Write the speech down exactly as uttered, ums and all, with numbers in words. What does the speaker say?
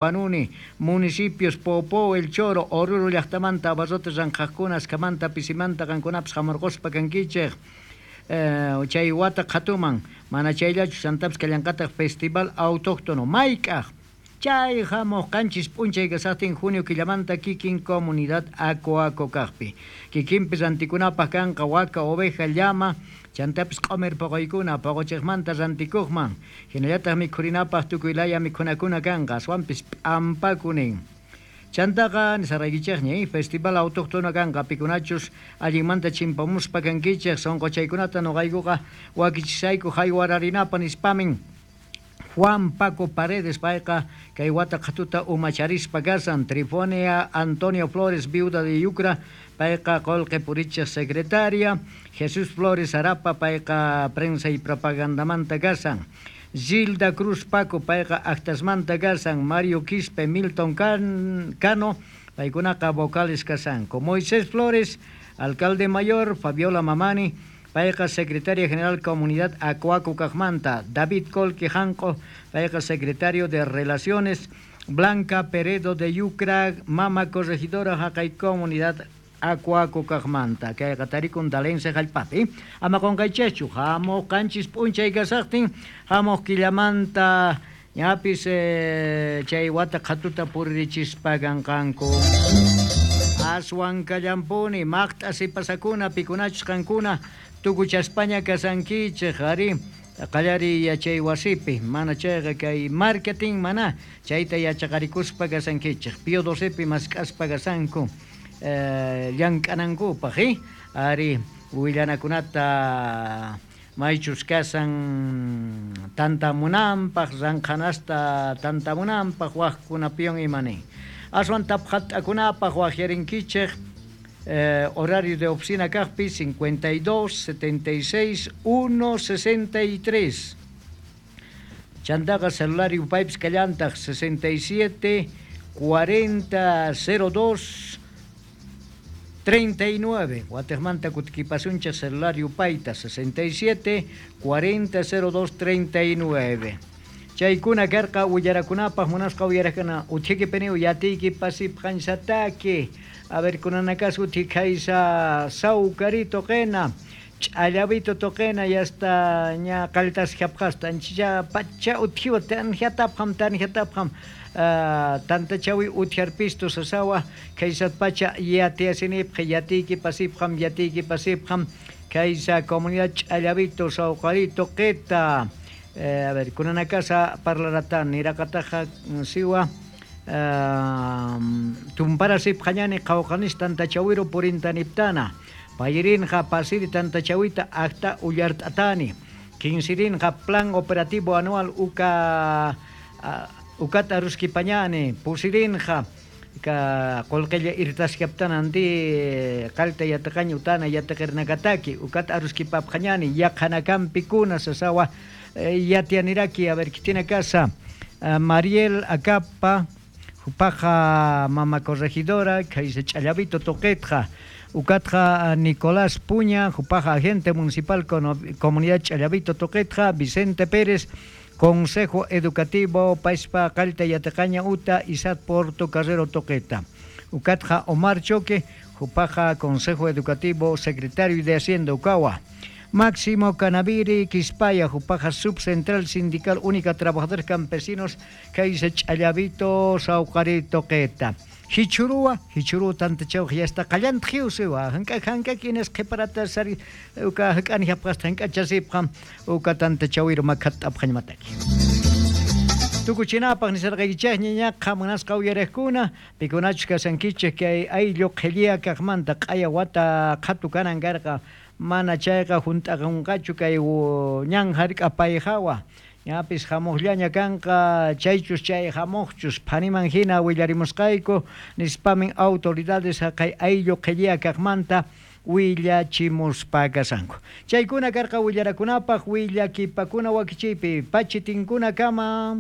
Huanuni, municipios Popó, El Choro, Oruro llaqtamanta, abarrotes ranqhaqkuna, askamanta, pisimanta, qankunapis hamurquspa kankichik. Eh, chay wata qhatuman, mana chayllachu chantapis kallanqataq festival autóctono mayk'aq chay hamuq qanchis p'unchay kasaqtin junio killamanta kikin comunidad Aco kaqpi. Kikinpi rantikunapaq kanqa waka, oveja, llama, chantapis q'umir puquykuna puquchiqmanta rantikuqman. Hinallataq mikhurinapaq tukuy laya mikhunakuna kanqa, aswanpis p'ampakunin. Chantaqa nisaraykichikña, eh, festival autóctono kanqa pikunachus allinmanta chimpamuspa kankichik sunquchaykunata nuqaykuqa wakichisayku haywararinapa nispamin. Juan Paco Paredes payqa kay wata qhatuta umacharispa kasan, Trifonia Antonio Flores, viuda de Yucra, payqa qullqi purichiq secretaria, Jesús Flores Arapa payqa prensa y propagandamanta kasan, Gilda Cruz Paco payqa actasmanta kasan, Mario Quispe, Milton Cano, paykunaqa vocales kasanku, Moisés Flores, alcalde mayor, Fabiola Mamani, payqa secretaria general comunidad Aco kaqmanta, David Colque Janco, payqa secretario de Relaciones, Blanca Peredo de Yucra, mama corregidora haqay comunidad Aco kaqmanta, kayqa tarikun Dalense hallp'api. Ama qunqaychikchu, hamuq qanchis p'unchay kasaqtin, hamuq killamanta ñapis eh, chay wata qhatuta puririchispa kanqanku. Aswan kallampuni, maqt'a sipasakuna, pikunachus qankuna, tukuchaspaña kasankichik, ari, qallariy yachay wasipi, mana chayqa kay marketing mana, chayta yachaqarikuspa kasankichik, Pío docepi mask'aspa kasanku, eh, llank'anankupaq, eh? Ari, willanakunata maychus kasan tantamunanpaq, ranqhanasta tantamunanpaq, waqkunapiwan imanin. Aswan tapqat'akunapaq waqyarinkichik, eh, horario de oficina kaqpi cincuenta y dos, setenta y seis, uno, sesenta y tres. Chantaqa celular yupaypis kallantaq sesenta y siete, cuarenta, cero dos, treinta y nueve. Wateqmanta kutikipasunchik celular yupayta sesenta y siete, cuarenta, cero dos, treinta y nueve. Chaykuna karqa willarakunapaq munasqa uyarakuna uthikipini yatiyki pasip qansataki. A ver, kunanakas uthikaysa sawkarito qina, ch'allavito toqina, ya está ña qalltas japqasta, anchicha pacha uthiwa tanjatapqam, tanjatapqam, uh, tantachawi uthiarpisto sasawa, kaysat pacha yatiasinipqa, yatiyki pasipqam, yatiyki pasipqam, kaysa comunidad ch'allavito sawqarito qita. Eh, a ver, kunanakasa parlaratan, niraqataqa siwa, Uh, tumparasip qhañani qhawqanis tantachawiro purintaniptana payirinqa pasiri tantachawita acta ullart'atani quinsirinqa plan operativo anual uka uh, ukata ruskipañani pusirinqa ka qullqilla irtaskaptana anti qalta yataqañi utana yataqirnakataki ukata aruskipapqañani yaqhanakanpikuna sasawa yatianiraki. A ver, kitina casa uh, Mariel Acapa Paja mama corregidora, kaysa ch'allavito toqetqa, ukatqa Nicolás Puña, jupaja agente municipal comunidad ch'allavito toqetqa, Vicente Pérez, Consejo Educativo Paispa Qalta Yataqaña Uta, Isat Porto Carrero Toqueta, ukatqa Omar Choque, jupaja Consejo Educativo Secretario de Hacienda Ucawa. Máximo Canaviri, Quispaya, Jupaja Subcentral Sindical Única Trabajadores Campesinos, Kaisa Ch'allavito, Saucarito, Queta. Hichurua, Hichurua tantachau, ya está callant jiusiwa, hanka hanka quienes qhiparata sari, uka hak'ani japqasta hanka chasipqam, uka tantachawiro makhat apqañmataki. Tukuchinapaq nisarqaykichikña ñaqa munasqa uyariqkuna, pikunachus kasankichik kay ayllu qhilliya kaqmanta q'aya wata qhatu kanan karqa, mana chayqa hunt'aqunqachu kay ñan hark'a payhawa. Ñapis hamuqllaña kanqa chaychus chay hamuqchus phaniman hina willarimusqayku nispamin autoridades haqay ayllu qhilliya kaqmanta willachimuspa kasanku. Chaykuna karqa willarakunapaq willakipakuna wakichiypi pachitinkuna kama.